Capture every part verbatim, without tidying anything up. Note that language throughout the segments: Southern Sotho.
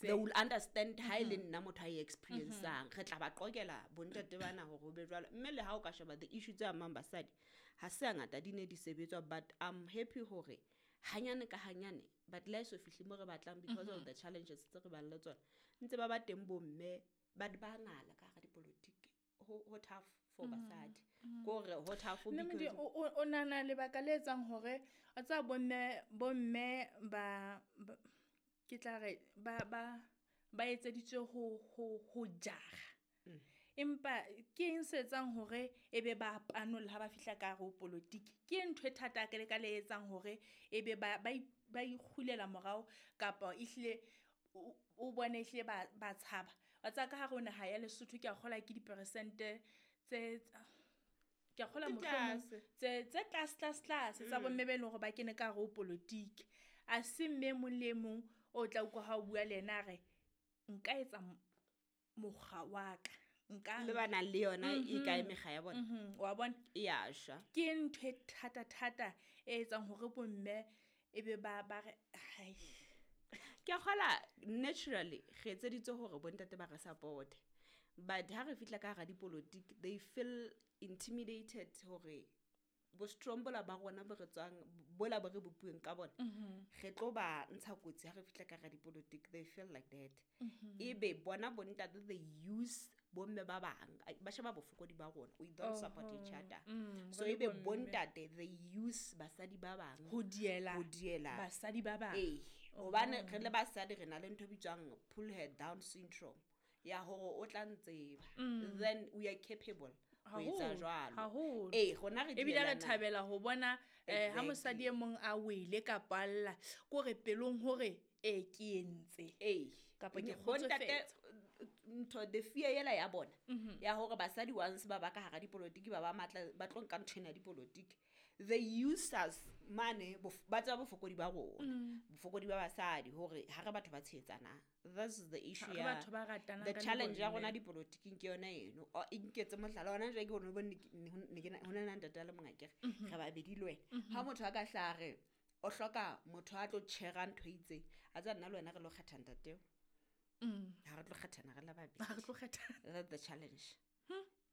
They will understand ha e le nna motho a e experiencang. Re tla ba qokela bontate bana hore ho be jwalo. Mme le ha o ka sheba the issue tse amang basadi, ha se hangata di ne di sebetswa, but I'm happy hore hanyane ka hanyane, but le ha e so fihle mo re batlang because of the challenges tse re bang le tsona, ntse ba ba teng bomme, but ba ngala ka hara dipolotiki. Ho ho tough for basadi. Ke hore ho tough Mme Modi, because o o- o nahana lebaka le etsang hore wa tseba bomme bomme ba ba- ke tla re ba ba ba etseditswe ho ho ho jara. Empa ke eng se etsang hore ebe ba panolla ha ba fihla ka hare ho polotiki? Ke ntho e thata ka le ka le etsang hore ebe ba ba i- ba ikgulela morao kapa ehlile o o bone ehlile ba ba tshaba. Wa tseba ka hare ho naha ya Lesotho ke a kgolwa ke diperesente tse ke a kgolwa Di mohlomong tlase. tse tse tlase tlase tlase tsa bomme be leng hore ba kene ka hare ho polotiki. A se mme e mong le e mong o tla utlwa ha o bua le yena a re nka etsa m- mokga wa ka. Nka Le ba nang le yona e kae mekga ya bona? Mhm, wa bona? E ya shwa. Ke ntho e thata thata e etsang hore bomme ebe ba ba re hai. Ke a kgola naturally re etseditswe hore bontate ba re support. But ha re fihla ka hara dipolotiki, they feel intimidated hore bo strong bola ba rona bo re tswang, bola bo re bopuweng ka bona, re tlo ba ntsha kotsi ha re fihla ka hara dipolotiki. They feel like that. Ebe bona bontate they use bomme ba bang, ai, ba sheba bofokodi ba rona. We don't support each other. Mm, So re le ebe bomme. bontate they use basadi ba bang Ho diela ho diela basadi ba bang. Ee, hobane re le basadi re na le ntho e bitswang pull her down syndrome ya hore o tla ntseba, then we are capable ho etsa Haholo, jwalo. haholo. Ee, rona re Ebile re dielana. thabela ho bona eh ha mosadi e mong a wele kapa a lla, ke hore pelong hore e ke entse. Ee. Kapa ke Bontate, kgotsofetse. ntho the fear ela ya bona ya hore basadi once ba ba ka hara dipolotiki ba ba matla, ba tlo nka ntho ena ya dipolotiki, they use us mane, bof-, ba tseba bofokodi ba rona, bofokodi ba basadi, hore ha re batho ba tshehetsanang. This is the issue Ha re ya batho ba ratanang the ka le challenge ya bomme. rona dipolotiking ke yona eno. O, e nketse mohlala hona jwale ke hore o bone ke, ne ho, ne ke na, ho na le ntate a le mong akere, re babedi le wena. Ha motho a ka hlaha re o hloka motho a tlo tjhera ntho e itseng, a tseba nna le wena re lo kgetha ntate eo. Ha re tlo kgethana re le babedi. Ha re tlo kgethana. That's the challenge.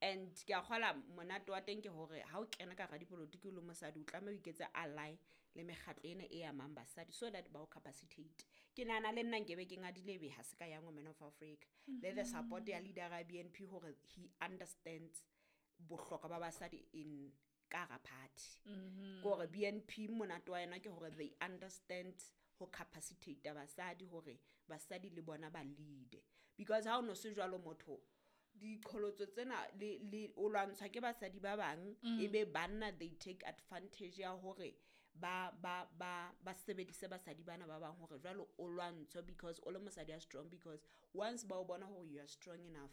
And ke a kgola monate wa teng ke hore ha o kena ka hara dipolotiki o le mosadi, o tlameha o iketse ally le mekgatlo ena e amang basadi so that ba o capacitate. Ke nahana le nna nkebe ke ngadile ebe ha se ka Young Women of Africa. Le the support ya leader ya B N P hore he understands bohlokwa ba basadi in ka hara party. Ke hore B N P monate wa yona ke hore they understand ho capacitate basadi hore basadi le bona ba lead. Because ha o no se jwalo motho, diqholotso tsena le, le o lwantshwa ke basadi ba bang, Mm. ebe banna they take advantage ya hore ba, ba, ba, ba sebedise basadi bana ba bang hore jwalo o lwantshwe because o le mosadi ya strong, because once ba o bona hore you are strong enough,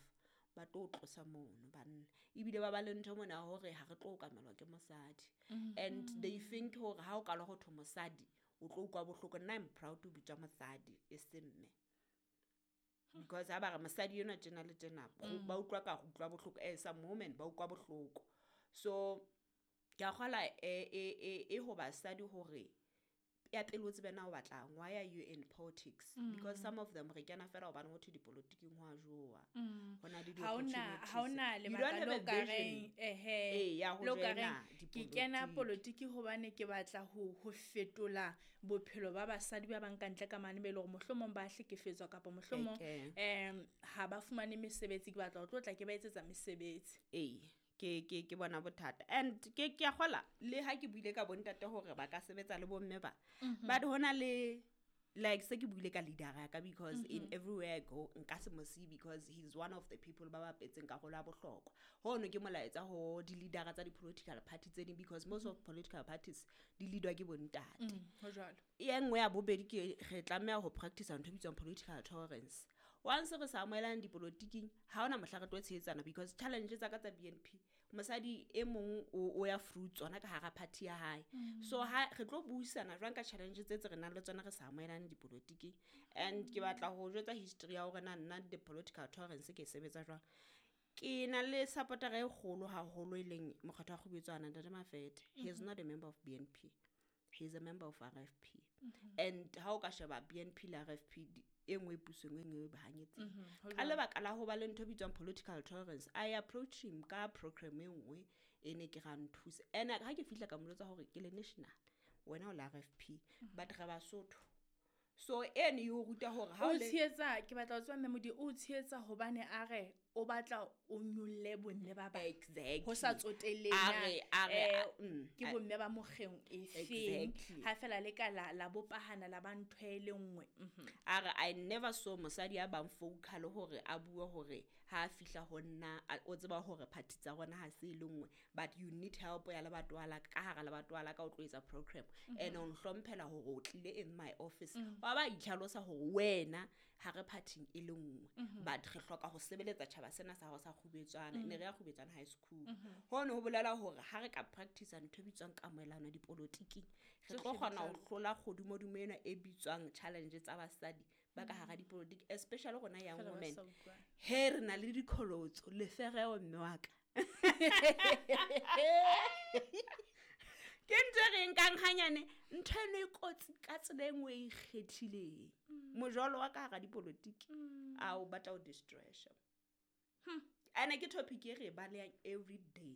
ba tlo o tlosa mono banna. Ebile ba ba le ntho mona ya hore ha re tlo okamelwa ke mosadi. And they think hore ha o ka lo ho thwe mosadi, o tlo utlwa bohloko. Nna I'm proud to bitswa mosadi e se mme. Because ha ba re mosadi enwa tjena le tjena, Mm. ba utlwa ka ho utlwa bohloko. Eh, some women ba utlwa bohloko. So ke a kgola e, e, e, e ho basadi hore ya pele o tsebe na o batlang, why are you in politics? Mm. Because some of them re kena fela hobane ho thwe dipolotiking ho a jowa. Mm. Ho na le Ha hona, di-opportunities. ha hona You lebaka don't have le a o ka vision. reng, ehe, Ee, ya ho le o ka joina reng, ke kena dipolotiki. polotiki hobane ke batla ho, ho fetola bophelo ba basadi ba bang ka ntle ka mane be le hore mohlomong ba hlekefetswa kapa mohlomong, Eke. em, ha ba fumane mesebetsi, ke batla ho tlo tla ke ba etsetsa mesebetsi. Ee, ke, ke, ke bona bothata. And ke, ke a kgola le ha ke buile ka bontate hore ba ka sebetsa le bomme ba. Mhm. But hona le, like se ke buile ka leader ya ka, because in Mhm. everywhere I go nka se mo siye because he's one of the people ba bapetseng karolo ya bohlokwa. Hono ke molaetsa ho di-leadera tsa di-political party tse ding, because most of political parties di leadwa ke bontate. Mm, ho jwalo. E nngwe ya bobedi ke re tlameha ho practice ntho e bitswang political tolerance. Once re sa amohelang dipolotiking, ha hona mohla re tlo tshehetsana, because challenge tsa ka tsa B N P, mosadi e mong o, o ya fruit tsona ka hara party ya hae. Mm. So ha re tlo buisana jwang ka challenge tse tse re nang le tsona re sa amohelane dipolotiking. And ke batla ho jwetsa history ya hore na nna the political tolerance ke e sebetsa jwang. Ke na le supporter e kgolo haholo e leng Mokgatlo wa Kgobetswana, Ntate Mafethe. He is Mm-hmm. not a member of B N P. He is a member of R F P. Mm-hmm. And ha o ka sheba B N P le R F P, di, E nngwe e pusong, e nngwe e bahanyetsing. Mhm, ho Ka jwalo. lebaka la ho ba le ntho e bitswang political tolerance, I approach him ka program e nngwe e ne ke ra nthuse. And ha ke fihla ka mo jwetsa hore ke le national, wena o le R F P, but re Basotho. So eno e o ruta hore ha O o le tshehetsa, ke batla ho tseba, mme Modi o tshehetsa hobane a re o batla o nyolle bomme ba bang. Exactly. Ho sa tsotellehe A na, re a re eh, a- mm, ke a- bomme ba mokgeng e feng. Exactly. Ha fela le ka la la bopahana la ba ntho e le nngwe. Mhm. A re I never saw mosadi a bang vocal hore a bue hore ha a fihla ho nna a- o tseba hore party tsa rona ha se e le nngwe, but you need help ya lebatowa la ka, ka hara lebatowa la ka o tlo etsa program and o nhlomphela hore o tlile in my office wa ba itlhalosa hore wena ha re party e le nngwe, but re hloka ho sebeletsa tjhaba sena sa hao sa Kgubetswana. Ne re ya Kgubetswana High School. Hono ho bolela hore ha re ka practice ntho e bitswang kamohelano dipolotiking, re tlo Tsohle di kgona tla ho hlola kgodumodumo ena e bitswang challenge tsa basadi ba ka hara dipolotiki, especially rona young Fela ba women. sa utlwane. He re na le diqholotso lefereo, mme wa ka, ke ntho e re nkang hanyane. Ntho eno e kotsi ka tsela e nngwe e ikgethileng. Mojolo wa ka hara dipolotiki a o batla ho destroy-a. Ene ke topic e re e balehang every day,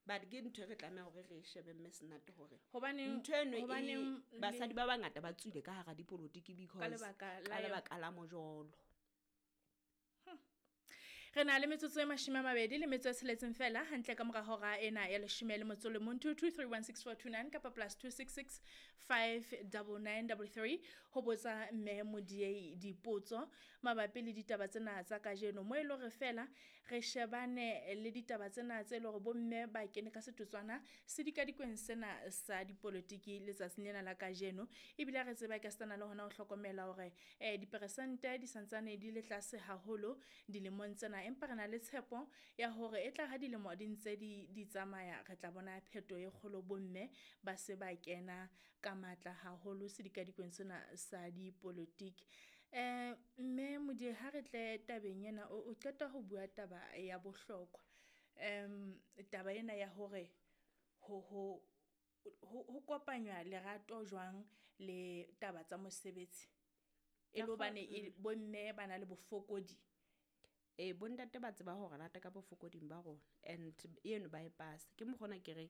but ke ntho e re tlameha hore re e shebe, mme Senate, hore Hobaneng ntho eno e hobaneng le- basadi ba bangata ba tswile ka hara dipolotiki ka because lebaka la ka yona. lebaka la mojolo. Re na le metsotso e mashome a mabedi le metso e tsheletseng fela hantle ka mora hora ena ya leshome le motso o le mong. Two two three one six four two nine kapa plus two six six five double nine double three ho botsa mme Modiei dipotso mabapi le ditaba tsena tsa kajeno, mo e le hore fela re shebane le ditaba tsena tse le hore bomme ba kene ka setotswana sedikadikweng sena sa dipolotiki letsatsing lena la kajeno. Ebile re tseba ka setana le hona ho hlokomela hore um diperesente di santsane di le tlase haholo dilemong tsena, empa re na le tshepo ya hore e tla ha dilemo di ntse di di tsamaya, re tla bona pheto e kgolo, bomme ba se ba kena ka matla haholo sedikadikweng sena sa dipolotiki. um mme Modiei, ha re tle tabeng ena, o o qeta ho bua taba ya bohlokwa, um taba ena ya hore ho ho ho ho kopanywa lerato jwang le taba tsa mosebetsi e Ka le kgo- hobane e- bomme ba na le bofokodi. Ee, bontate ba tseba hore rata ka bofokoding ba rona and eno ba e pasa. Ke mokgona ke reng,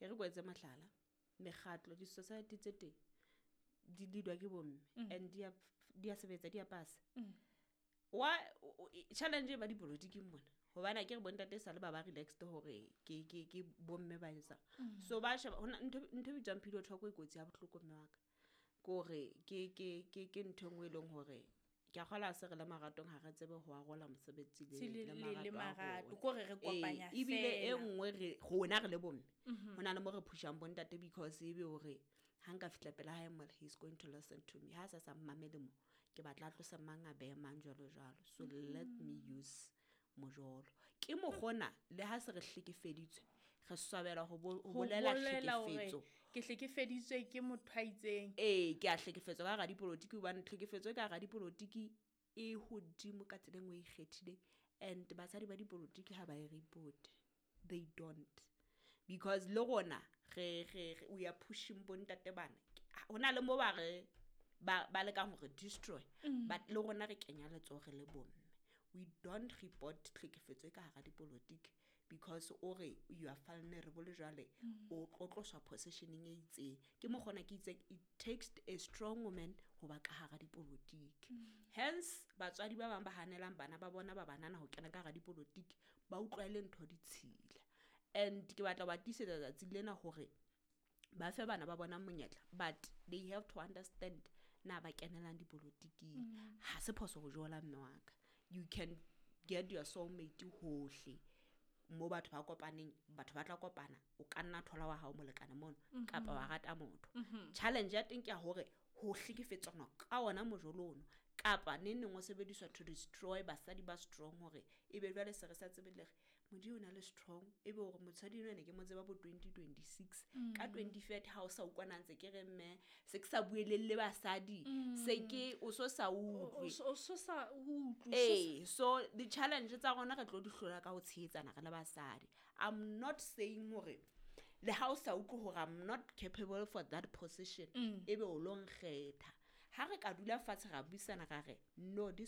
e re ko etse mohlala, mekgatlo, di-society tse teng di leadwa ke bomme and di a di a sebetsa, di a pasa. Mm. Wa o- o- e- challenge e ba dipolotiking mona, hobane akere bontate e sale ba ba relaxed hore ke ke ke bomme ba etsang. So ba sheba hona ntho ntho e bitswang pillow talk e kotsi ya bohloko, mme wa ka. Ke hore ke ke ke ke ntho e nngwe e leng hore ke a kgolwa ha se re le maratong, ha re tsebe ho arola mosebetsi le Se le le le le marato a marato rona. Kore re Ee, kopanya ebile e fela. nngwe re rona re le bomme, Mhm. ho na le mo re pushang bontate because ebe hore ha nka fihla pela hae mola, he's going to listen to me. Ha a sa sa mmamele mo, ke batla a tlose mang, a behe mang, jwalo jwalo. So let me use mojolo. Ke mokgona le ha se re hlekefeditswe, re swabela ho bo- ho Ho bolela bolela hore hlekefetso. ke hlekefeditswe ke motho a itseng. Ee, ke a hlekefetswa ka hara dipolotiki, hobane tlhekefetso e ka hara dipolotiki e hodimo ka tsela e nngwe e ikgethileng, and basadi ba dipolotiki ha ba e report. They don't, because le rona re re re- we are pushing bontate bana. Ho na le mo ba re ba ba lekang hore destroy, but le rona re kenya letsoho re le bomme. We don't report tlhekefetso e ka hara dipolotiki because o re you are vulnerable, jwale o tlo tloswa positioning e itseng. Ke mokgona ke itseng it takes a strong woman ho ba ka hara dipolotiki. Hence batswadi ba bang ba hanelang bana ba bona ba banana ho kena ka hara dipolotiki, ba utlwa e le ntho ditshila. And ke batla ho ba tiisetsa tsatsi lena hore ba fe bana ba bona monyetla, but they have to understand na ba kenelang dipolotiking. Ha se phoso ho jola, mme wa ka. You can get your soulmate hohle mo batho ba kopaneng, batho ba tla kopana, o ka nna thola wa hao molekane mono kapa wa rata motho. Challenge ya teng ke ya hore ho hlekefetswana ka ona mojolo ono, kapa neng neng o sebediswa to destroy basadi ba strong, hore ebe jwale se re sa tsebe le re Modimo o na le strong, ebe hore mosadi enwa ne ke mo tseba bo twenty twenty-six, ka twenty thirty ha o sa utlwana ntse ke re mme se ke sa bueleng le basadi, se ke o so sa utlwe. O so sa utlwe, o so sa- Ee, so di-challenge tsa rona re tlo di hlola ka ho tshehetsana re le basadi. I'm not saying hore le ha o sa utlwe hore I'm not capable for that position, ebe o lo nkgetha. Ha re ka dula fatshe ra buisana ra re, no, this